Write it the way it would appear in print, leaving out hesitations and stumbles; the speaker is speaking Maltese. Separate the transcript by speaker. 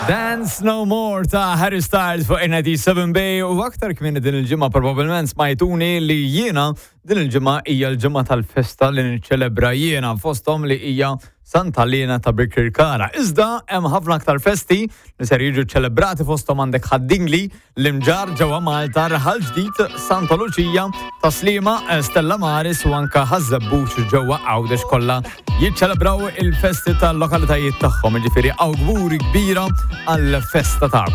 Speaker 1: Dance No More ta' Harry Styles fuq 97 Bay u aktar kmieni din il-ġimgħa probabbilment smajtuni li jiena din il-ġimgħa hija l-ġimgħa tal-festa li niċċelebra jiena fosthom li hija Santa Liena ta' Birkirkara. Iżda hemm ħafna aktar festi li ser jiġu ċelebrati fosthom għandek Ħad-Dingli, l-Imġarr ġewwa Malta, Raħal Ġdid, Santa Luċija, Tas-Sliema, Stella Maris u anka Ħaż-Żebbuġ ġewwa Għawdex kollha jiċċelebraw il-festi tal-lokalitajiet tagħhom, jiġifieri awguri kbira għall-festa tagħkom.